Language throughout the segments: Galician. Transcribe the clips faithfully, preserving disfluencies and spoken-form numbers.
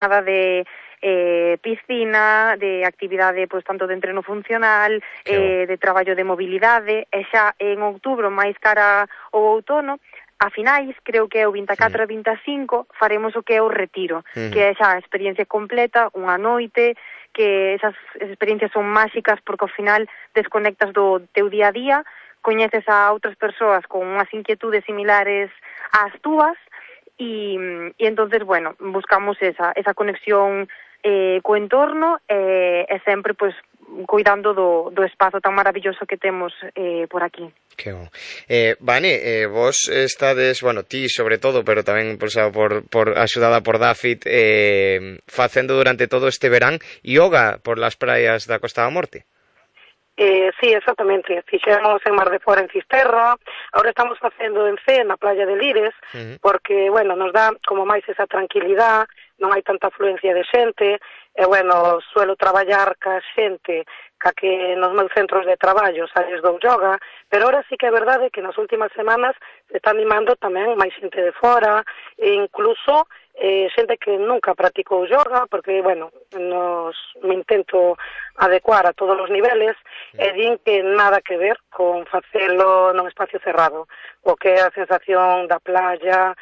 nada de eh, piscina, de actividade pois tanto de entreno funcional, eh, de traballo de mobilidade, e xa en outubro, máis cara ao outono, a finais, creo que é o vinte e catro e vinte e cinco, faremos o que é o retiro, Mm. que é xa a experiencia completa, unha noite, que esas experiencias son máxicas porque ao final desconectas do teu día a día, coñeces a outras persoas con unhas inquietudes similares ás túas, e, e entonces, bueno, buscamos esa, esa conexión eh, co entorno e, e sempre, pois, cuidando do, do espazo tan maravilloso que temos eh, por aquí. Que bon. Eh, Vane, eh, vos estades, bueno, ti sobre todo, pero tamén por, por, por axudada por David, eh, facendo durante todo este verán yoga por las praias da Costa da Morte. Eh, sí, exactamente. Fixemos en Mar de Fora, en Fisterra. Ahora estamos facendo en Cee, na playa de Lires, uh-huh. porque, bueno, nos dá como máis esa tranquilidade, non hai tanta afluencia de xente, e, bueno, suelo traballar ca xente ca que nos meus centros de traballo sales do yoga, pero ahora sí que é verdade que nas últimas semanas se está animando tamén máis xente de fora, e incluso eh, xente que nunca practicou yoga, porque, bueno, nos me intento adecuar a todos os niveles, e din que nada que ver con facelo nun espacio cerrado, o que é a sensación da playa,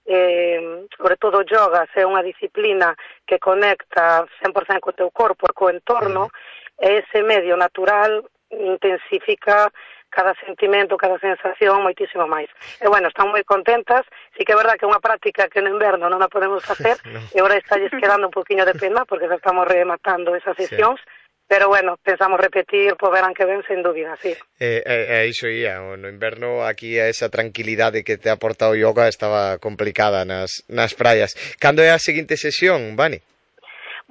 eh, sobre todo o yoga, se é unha disciplina que conecta cen por cento co teu corpo e co entorno, e ese medio natural intensifica cada sentimento, cada sensación moitísimo máis. E, bueno, están moi contentas. Sí que é verdad que é unha práctica que no inverno non a podemos facer, no. E agora está quedando un poquinho de pena, porque xa estamos rematando esas sesións, sí. Pero, bueno, pensamos repetir po verán que ven, sen dúbida, sí. E eh, eh, iso ia, no inverno aquí a esa tranquilidade que te ha aportado o yoga estaba complicada nas, nas praias. Cando é a seguinte sesión, Vani?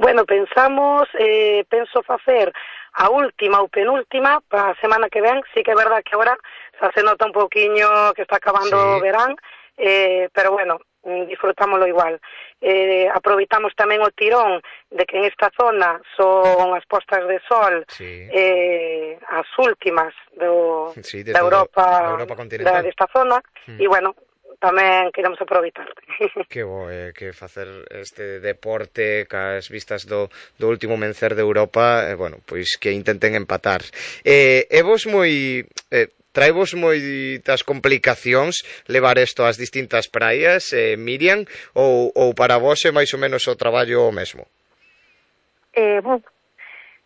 Bueno, pensamos, eh, penso facer a última ou penúltima para a semana que ven. Sí que é verdad que agora xa se nota un pouquiño que está acabando o sí. verán, eh, pero bueno, disfrutámoslo igual. Eh, aproveitamos tamén o tirón de que en esta zona son as postas de sol sí. eh, as últimas do, sí, de da Europa, Europa continental. Da, desta zona, mm. e bueno, tamén queremos aproveitar. Que bo, eh, que facer este deporte cas vistas do, do último mencer de Europa, eh, bueno, pois que intenten empatar. Eh, é vos moi... Eh, traivos moitas complicacións levar isto ás distintas praias, eh, Miriam, ou, ou para vos é máis ou menos o traballo o mesmo? Eh, bon,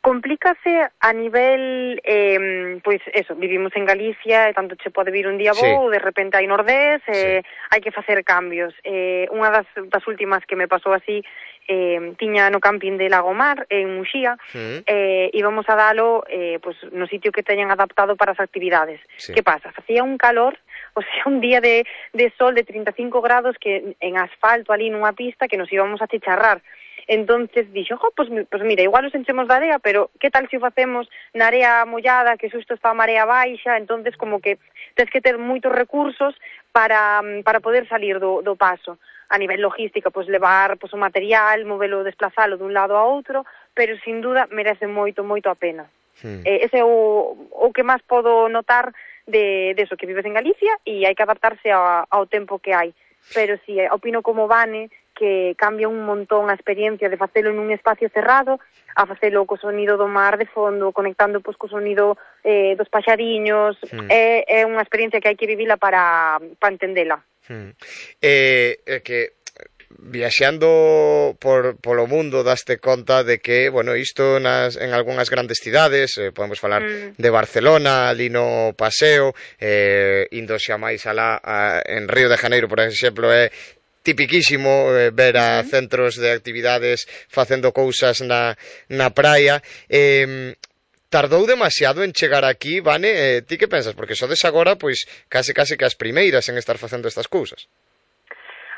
complícase a nivel, eh, pois eso, vivimos en Galicia e tanto che pode vir un día bo, sí. De repente hai nordés, eh, sí. Hai que facer cambios. Eh, unha das, das últimas que me pasou así, eh, tiña no camping de Lagomar, en Muxía, mm. eh, íbamos a dalo eh, pues, no sitio que teñan adaptado para as actividades. Sí. Que pasa? Facía un calor, o sea, un día de, de sol de trinta e cinco grados que en asfalto ali nunha pista que nos íbamos a chicharrar. Entonces dixo, jo, pues, pues mira, igual os enchemos de area, pero que tal se o facemos na area mollada, que xusto está a marea baixa, entonces como que tens que ter moitos recursos para, para poder salir do, do paso. A nivel logística, pois levar pois, o material, movelo, desplazalo dun lado a outro, pero sin duda merece moito, moito a pena. Hmm. Eh, ese é o, o que máis podo notar de, de eso, que vives en Galicia e hai que adaptarse a, ao tempo que hai. Pero si, sí, opino como Vane, que cambia un montón a experiencia de facelo nun espacio cerrado, a facelo co sonido do mar de fondo, conectando pois, co sonido eh, dos paxariños, hmm. é, é unha experiencia que hai que vivila para, para entendela. Hmm. Eh, eh, que viaxando por polo mundo daste conta de que, bueno, isto nas, en algunhas grandes cidades, eh, podemos falar mm. de Barcelona, ali no paseo, eh, indo xa máis alá a, en Río de Janeiro, por exemplo, é tipiquísimo eh, ver a mm. centros de actividades facendo cousas na, na praia. Eh, Tardou demasiado en chegar aquí, Vane? Eh, ti que pensas? Porque sodes agora, pois, case case que as primeiras en estar facendo estas cousas.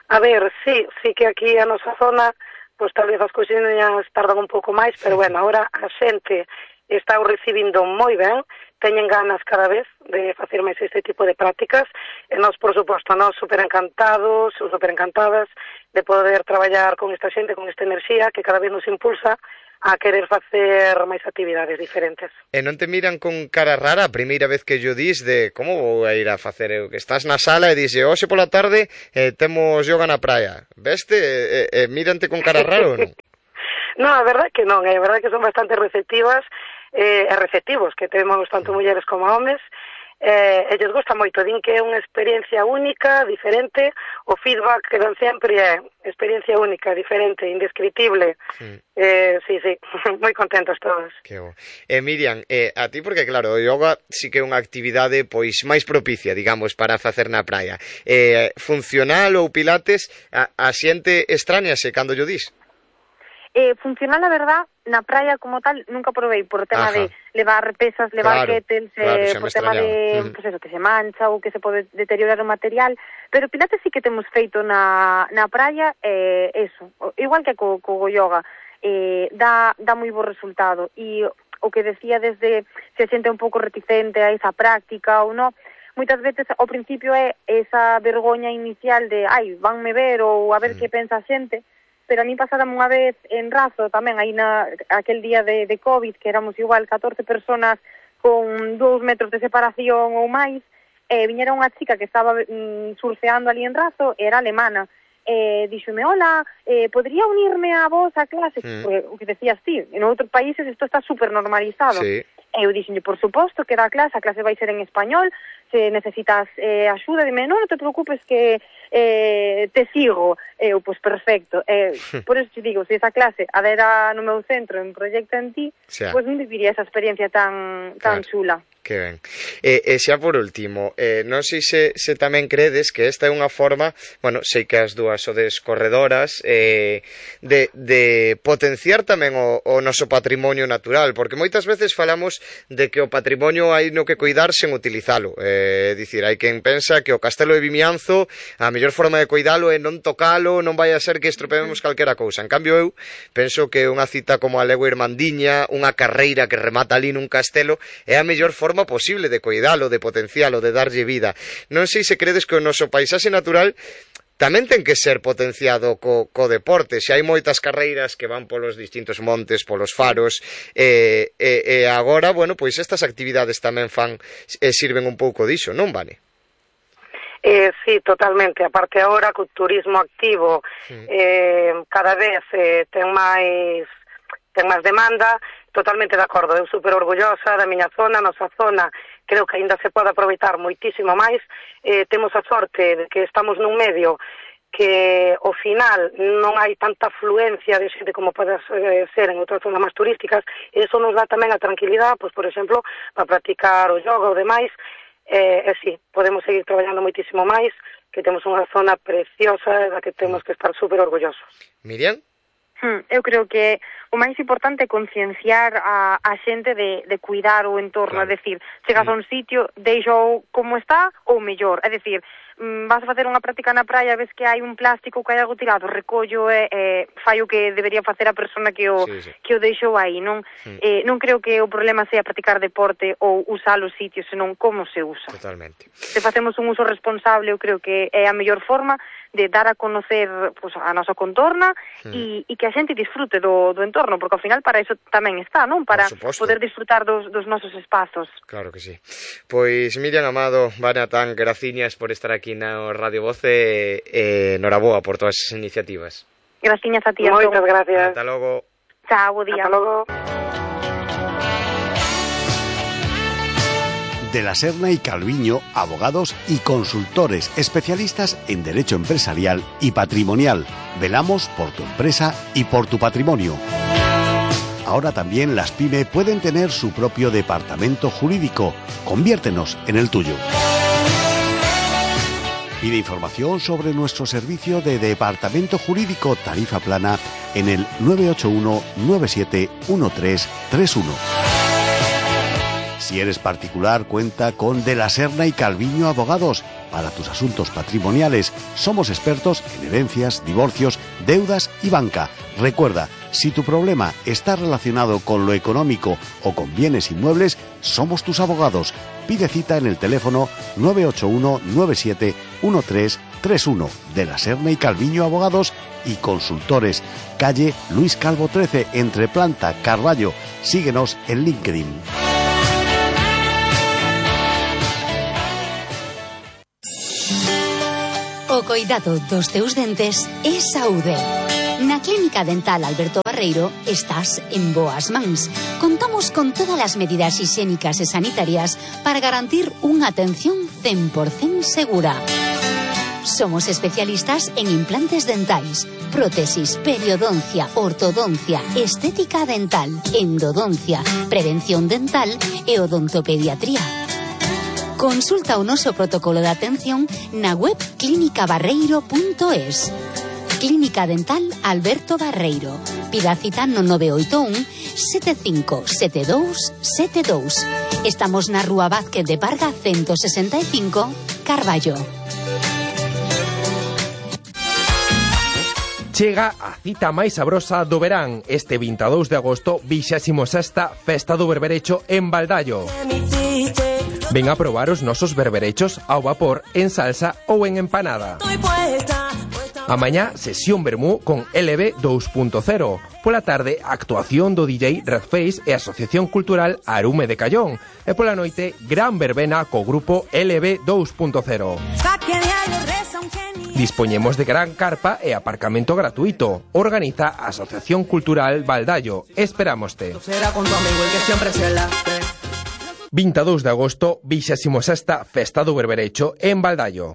A ver, sí, sí que aquí a nosa zona, pois tal vez as cousiñas tardan un pouco máis, pero bueno, agora a xente está o recibindo moi ben, teñen ganas cada vez de facer máis este tipo de prácticas, e nós, por suposto, nós super encantados, super encantadas de poder traballar con esta xente, con esta enerxía que cada vez nos impulsa a querer facer máis actividades diferentes. E non te miran con cara rara a primeira vez que yo dis de como vou a ir a facer eu? Que estás na sala e dixe, hoxe pola tarde eh, temos yoga na praia. Veste? E, e, e mírante con cara raro ou non? Non, a verdade que non, a verdade que son bastante receptivas eh, e receptivos, que temos tanto mulleres como homes, eh, e lles gusta moito, din que é unha experiencia única, diferente, o feedback que dan sempre é experiencia única, diferente, indescriptible. Sí, eh, sí, sí, moi contentos todos. Que bo. Eh, Miriam, eh, a ti porque claro, o yoga sí que é unha actividade pois máis propicia, digamos, para facer na praia. Eh, funcional ou pilates, a, a xente extrañase cando yo dis? Eh, funcional, a verdad, na praia como tal nunca probei por tema Ajá. de levar pesas, levar claro, kettles, claro, eh, por tema de mm. pues eso, que se mancha ou que se pode deteriorar o material, pero pilates sí que temos feito na, na praia, eh, eso, igual que co, co yoga, eh, dá, dá moi bo resultado, e o que decía desde se xente un pouco reticente a esa práctica ou non, moitas veces ao principio é esa vergoña inicial de, ai, vanme ver ou a ver mm. que pensa a xente, pero a mí pasárame unha vez en Razo tamén, aí na aquel día de, de COVID, que éramos igual catorce personas con dous metros de separación ou máis, e viñera unha chica que estaba mm, surfeando ali en Razo, era alemana, e díxome, hola, eh, podría unirme a vos a clase? Mm. Porque, o que decías ti, en outros países isto está super normalizado. Sí. E eu dixenlle, por suposto, que era a clase, a clase vai ser en español, se necesitas eh, axuda, dime, non, non te preocupes que eh, te sigo. Eu, pois, perfecto. Eh, por eso te digo, se esa clase adera no meu centro en Proyecta en Ti, pois pues, non viviría esa experiencia tan, tan claro. chula. Que ben. E, e xa por último, eh, non sei se, se tamén credes que esta é unha forma, bueno, sei que as dúas sodes corredoras, eh, de, de potenciar tamén o, o noso patrimonio natural, porque moitas veces falamos de que o patrimonio hai no que cuidar sen utilizalo. É eh, dicir, hai quen pensa que o Castelo de Vimianzo, a mellor forma de cuidalo é non tocalo, non vai a ser que estropeemos calquera cousa. En cambio, eu penso que unha cita como a Legua Irmandiña, unha carreira que remata ali nun castelo, é a mellor forma posible de cuidalo, de potencialo, de darlle vida. Non sei se credes que o noso paisaxe natural tamén ten que ser potenciado co, co deporte. Se hai moitas carreiras que van polos distintos montes, polos faros, e, e, e agora, bueno, pois estas actividades tamén fan e sirven un pouco diso, non, Vane? Eh, sí, totalmente. Aparte agora, co turismo activo, mm. eh, cada vez eh, ten máis ten máis demanda, totalmente de acordo, eu super orgullosa da miña zona, a nosa zona, creo que aínda se pode aproveitar moitísimo máis, eh, temos a sorte de que estamos nun medio que ao final non hai tanta afluencia de xente como pode ser en outras zonas máis turísticas, e iso nos dá tamén a tranquilidade, pois, por exemplo, para practicar o yoga ou demais, e, e sí, podemos seguir traballando moitísimo máis, que temos unha zona preciosa da que temos que estar super orgullosos. Miriam? Eu creo que o máis importante é concienciar a, a xente de, de cuidar o entorno, claro. É dicir, chegas a un sitio, deixo como está ou mellor, é dicir, vas a facer unha práctica na praia, ves que hai un plástico, que hai algo tirado, recollo e eh, fai o que debería facer a persona que o, sí, sí. que o deixou aí, non? Mm. Eh, non creo que o problema sea practicar deporte ou usar os sitios, senón como se usa. Totalmente. Se facemos un uso responsable, eu creo que é a mellor forma de dar a conocer pues, a nosa contorna e mm. que a xente disfrute do, do entorno, porque ao final para iso tamén está, non? Para poder disfrutar dos, dos nosos espazos. Claro que sí. Pois Miriam Amado, Vane Atán, graciñas por estar aquí na Radio Voz e eh, noraboa por todas as iniciativas. Graciñas a ti. Moitas gracias. Ata logo. Chao, bo día. Ata logo. De la Serna y Calviño, abogados y consultores especialistas en derecho empresarial y patrimonial. Velamos por tu empresa y por tu patrimonio. Ahora también las PYME pueden tener su propio departamento jurídico. Conviértenos en el tuyo. Pide información sobre nuestro servicio de departamento jurídico tarifa plana en el nueve ocho uno nueve siete uno tres tres uno. Si eres particular, cuenta con De la Serna y Calviño Abogados. Para tus asuntos patrimoniales, somos expertos en herencias, divorcios, deudas y banca. Recuerda, si tu problema está relacionado con lo económico o con bienes inmuebles, somos tus abogados. Pide cita en el teléfono nueve ocho uno nueve siete uno tres tres uno. De la Serna y Calviño Abogados y Consultores, calle Luis Calvo trece, entre Planta, Carballo. Síguenos en LinkedIn. O coidado dos teus dentes é saúde. Na Clínica Dental Alberto Barreiro estás en boas mans. Contamos con todas as medidas higiénicas e sanitarias para garantir unha atención cen por cento segura. Somos especialistas en implantes dentais, prótesis, periodoncia, ortodoncia, estética dental, endodoncia, prevención dental e odontopediatría. Consulta o noso protocolo de atención na web clínica barreiro punto es. Clínica Dental Alberto Barreiro. Pida cita no nove oito un, sete cinco sete dous sete dous. Estamos na Rúa Vázquez de Parga ciento sesenta e cinco, Carballo. Chega a cita máis sabrosa do verán. Este vinte e dous de agosto, vixésima sexta Festa do Berberecho en Baldallo. Ven a probar os nosos berberechos ao vapor, en salsa ou en empanada. A mañá, sesión vermú con L B dos punto cero. Pola tarde, actuación do D J Redface e Asociación Cultural Arume de Callón. E pola noite, gran verbena co grupo L B dos punto cero. Dispoñemos de gran carpa e aparcamento gratuito. Organiza a Asociación Cultural Baldallo. Esperámoste. vinte e dous de agosto, vixésima sexta Festa do Berberecho en Baldallo.